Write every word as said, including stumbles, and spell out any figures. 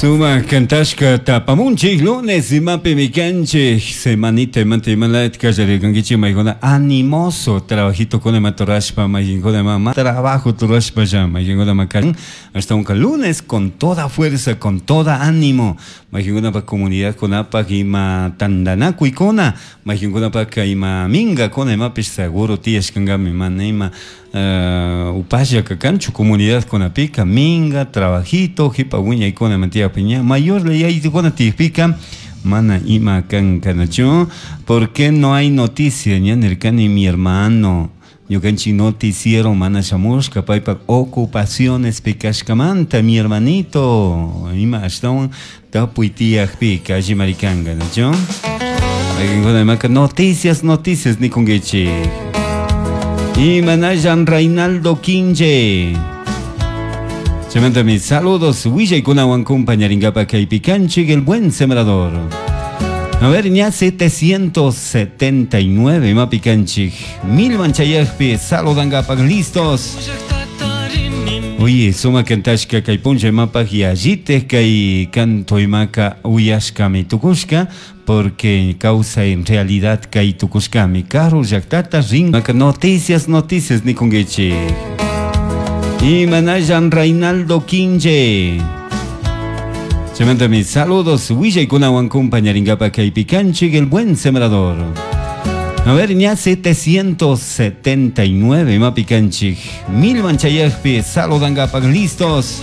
Sumak kantashka tapamunchik lunes imapi mikanchik semanita imanta imalayt kallarikankichik maykuna animoso trabajito kuna ima turashpa maykinkuna ima trabajo turashpa ya maykinkuna ma hasta lunes con toda fuerza, con toda ánimo, maykinkunapa comunidad kunapak ima tantanakuykuna, maykinkunapaka ima minkakuna imapish seguro tiyashkankami mana ima uh, upalla kanchu comunidad kunapika minga trabajito jipa wiñaykuna ima tiyakpi ña mayor yayitukuna tiyakpika mana ima kankanachu. ¿Por qué no hay noticia? Ña nirkani mi hermano ñukanchik noticiero mana shamushka paypak ocupaciones kashkamanta, mi hermanito, ima ashtawan tapuy tiyakpika allimari kanka, nachu. Imaka noticias, noticias nikunkichik. Imanayan Reinaldo Quinche. Chaymanta mis saludos, willaykunawan compañaringapa kaypi kanchik, el buen sembrador. A ver, ña setecientos setenta y nueve imapi kanchik. Mil manchayakpi saludangapak listos. Oye, suma kantashka kay puncha imapak yallitek kay canto imaka uyashkami tukushka, porque causa en realidad kay tukushkami karu llaktata rin noticias, noticias nikunkichik. Imanayan Reinaldo Quinche. Chaymanta mis saludos, willaykunawan compañaringapa kaypi kanchik, el buen sembrador. A ver, ña setecientos setenta y nueve imapi kanchik. Mil manchayakpi saludangapak listos.